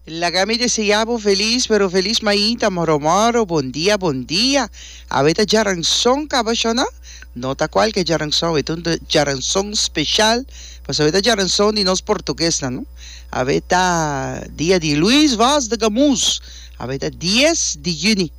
Laga mi desea bo felis pero felis mainta moro moro bon dia bon dia awe ta djaranson kaba shona no ta kualke djaranson e ta un djaranson special pasobra e ta djaranson di nos portuguesnan no awe ta dia di Luis Vaz de Camus awe ta dies di juni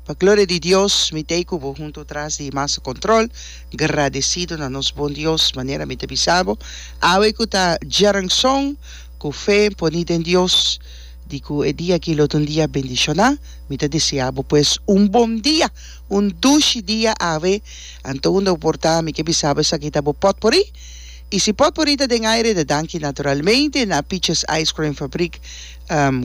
pa gloria di Dios mi ta ei ku bo hunto tras di masa control gradecido na nos bon Dios manera mi ta bisa bo awe ku ta djaranson. Ku fe poni den Dios di ku e dia aki lo ta un dia bendishoná, mi ta deseá bo pues un bon dia, un dushi dia awe. Anto unda bo por ta, mi ke bisa bo esaki ta bo pòtporí. I si pòtporí ta den aire, ta danki naturalmente na Peaches Ice Cream Fabriek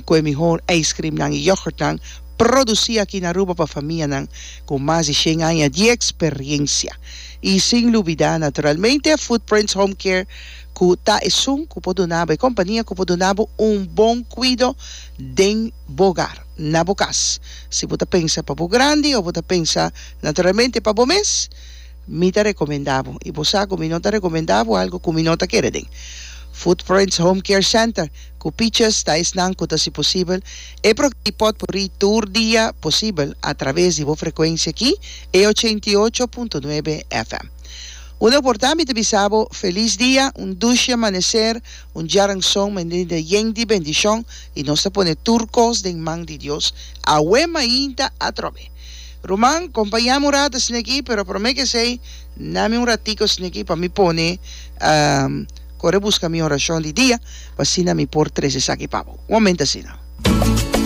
ku e mihor ijskrimnan i yoghurtnan produsí aki na Aruba pa famianan ku mas di shen aña di eksperiencia. I sin lubidá naturalmente Footprints Home Care ku ta esun ku por duna bo, e kompania ku por duna bo un bon kuido den bo hogar, na bo kas. Si bo ta pensa pa bo grandi o bo ta pensa naturalmente pa bo mes, mi ta rekomendá bo, i bo sa ku mi no ta rekomendá bo algu ku mi no ta kere den. Footprints Home Care Center ku Peaches ta esnan ku ta hasi posibel e programa di Potpourri tur dia posibel atraves di bo frekuensia aki, e 88.9 FM. Unda por ta mi ta bisa bo felis dia, un dushi amanecer, un djaranson mende yen di bendicion y nos ta pone tur cos den man di Dios awe mainta atrobe. Ruman, compaña mi un rato esneki, pero prome ke esey nami un ratico esneki pa mi pone core busca mi oracion di dia pa asina mi por trece esaki pa bo. Un momento asina.